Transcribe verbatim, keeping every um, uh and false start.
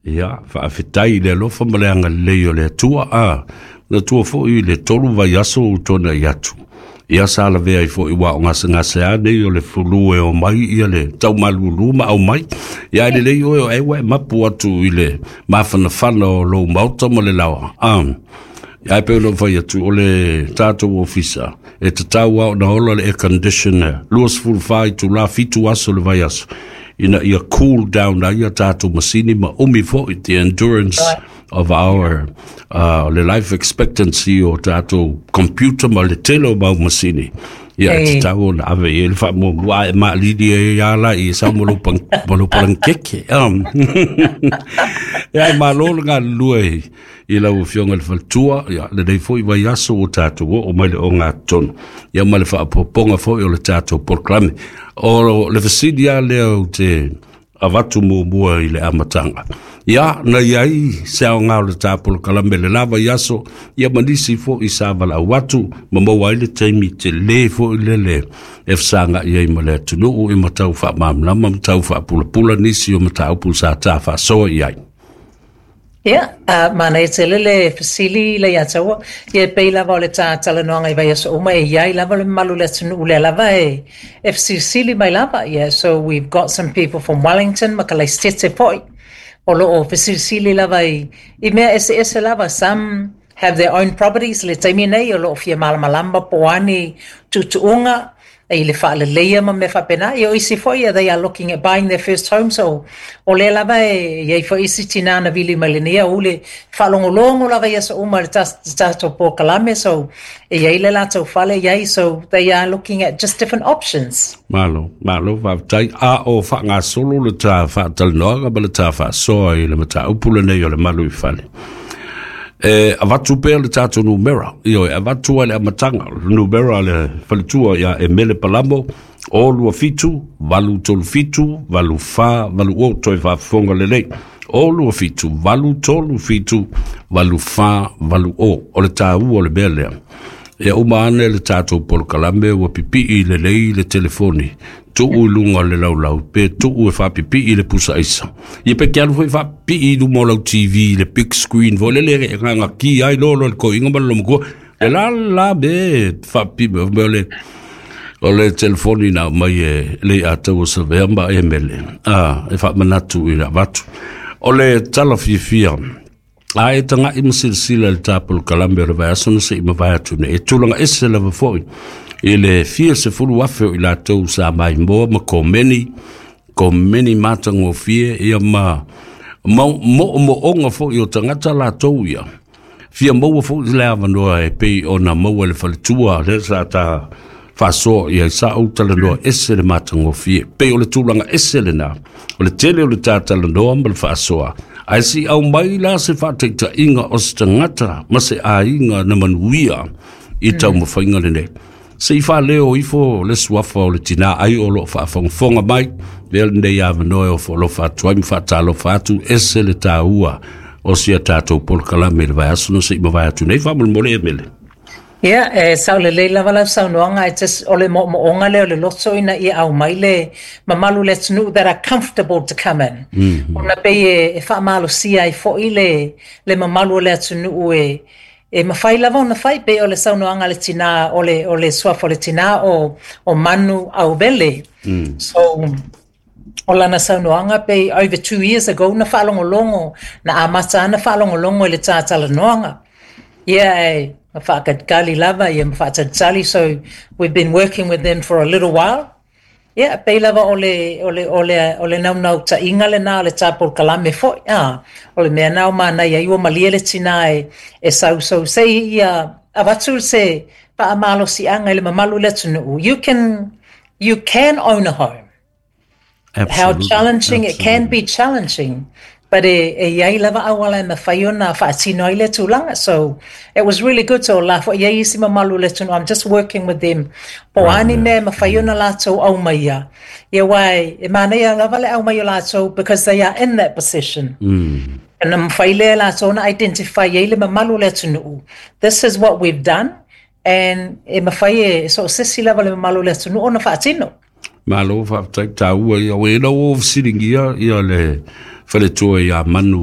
Ia, faafetai i le alofa ma le agalelei o le Atua, a na tua foi i le tolu vaiaso ua tuanai atu. Ia sa lavea ai foi ua o gasegase a nei o le fulu e omai ia le taumalulu ma aumai. Ia ai lelei oe o e ua e mapu atu i le mafanafana o lou maota ma le laoa. A ia e pei ona fai atu o le tatou ofisa e tatau lava ona ola le air conditioner luasefulu fa itulā fitu aso le vaiaso ina ia cool down ai a tatou masini ma umi foi the endurance Right. of our uh, le life expectancy o tatou computer ma le tele o mau masini. Ia e E. tatau ona ave i ai le faamuamua a e maalili ai ia la i sau ma lou pang- ma lou palankeke. Um. Ia e malo le galulue i lau afioga i le faletua, ia lenei foi vaiaso ua tatou oo mai le ogatotonu. Ia ma le faapopoga foi o le tatou polokalame. O le fesili lava lea ou te avatu muamua i le amataga. Ia, na iai se aoga o le ta polokalame le la vaiaso, ia ma nisi foi sa valaau atu, ma maua ai le taimi telē foi lele e fesagai ai ma le atunuu i ma tau faamalamalama ma tau faapulapula nisi o mataupu sa ta faasoa i ai. Ia, uh, manaia tele le fesili le ia taua. Ia e pei lava o le tā talanoaga i vaiaso uma e iai lava le mamalu o le atunuu lea lava e, e fesilisili mai lava. Yeah, so we've got some people from Wellington ma Kalaistete foi. O loo fesilisili lava i, i mea eseese lava. Some have their own properties le taimi nei o loo fia malamalama po o a ni tuutuuga i le faaleleia ma mea faapena. Ia o isi foi ia, they are looking at buying their first home, so o lea lava e iai foi isi tinā na vili mai lenei aoauli faalogologo lava i aso uma i le tas- tatou polokalame, so e iai le latou fale iai, so they are looking at just different options. Malo, malo, faafetai. A o faagasolo le ta faatalanoaga ma le ta faasoa i le mataupu lenei o le malu i fale. E avatu pea le tatou numera, ioe, avatu ai le amataga, le numera a le faletua ia Emele Palamo, o lua fitu, valu tolu fitu, valu fa, valu o, toe faafofoga lelei. O lua fitu, valu tolu fitu, valu fa, valu o, o le tāua o le mea lea. Ia uma ane le tatou polokalame ua pipii lelei le telefoni, tuu i luga o le laulau, pe tuu e faapipii le pusa aisa. Ia pe ke alu foi faapipii i luma o lau T V, le big screen foi lele e gagaki ai loa loa le toeaina ma le lomatua. Le la la me faapipii me o le o le telefoni na mai e le ataua savea ma e mele. Ah, e faamanatu i le avatu. O le tala fiafia a e taga'i ma silasila i le ta polokalame o le vaiaso na se'i mavae atu nei e tulaga ese lava foi i le fia sefulu afe o i latou sa maimoa ma komeni komeni matagofie ia ma moomooga foi o tagata latou ia fia maua foi le avanoa e pei ona maua le faletua lea sa ta faasoa ia sa ou talanoa ese le matagofie pei o le tulaga ese lena o le tele o le ta talanoa ma le faasoa ae si aumai la se faataitaiga o se tagata ma se aiga na manuia i taumafaiga lenei se i faaleo ifo le suafa o le tinā ai o loo faafogafoga mai lea lenei avanoa e ofoalofa atu ai ma faatalofa atu ese le tāua o sia tatou polokalame i le vaiaso na se'i mavae atu nei faamolemole e mele. Ia, e sao lelei lava lau saunoaga e just o le moomooga lea o le loto ina ia aumai le mamalu o le atunuu that are comfortable to come in. mm -hmm. Ona pei e, e faamalosia ai foi le, le mamalu o le atunuu e, e mafai lava ona fai pei o le saunoaga a le tinā o le, o le suafa o le tinā o, o Manu Auvele. Mm. So, o lana saunoaga pei over two years ago na faalogologo na amata ana faalogologo i le tātalanoaga. Ia e ma faakalikali lava ia ma faatalitali, so we've been working with them for a little while. Ia pei lava o le o le o le o le naunautaiga lena o le tā polokalame foi a o le mea na o manaia ai ua malie le tinā e, e sau sei ia avatu se faamalosiaga i le mamalu o le atunuu. You can you can own a home. How Absolutely. challenging it can Absolutely. be challenging, but e, e iai lava auala e mafai ona faatino ai le tulaga. So it was really good. So la foi iai isi mamalu o le atunuu. I'm just working with them po o a ni mea e mafai ona latou aumaia ia ua e, e manaia lava le aumai o latou because they are in that position. Mm. Na mafai lea latou ona identify ai le mamalu o le atunuu. This is what we've done and e mafai e so o se isi lava le mamalu o le atunuu ona faatino. Malo faafetai tāua ia o ena ua fesiligia ia le faletua ia Manu.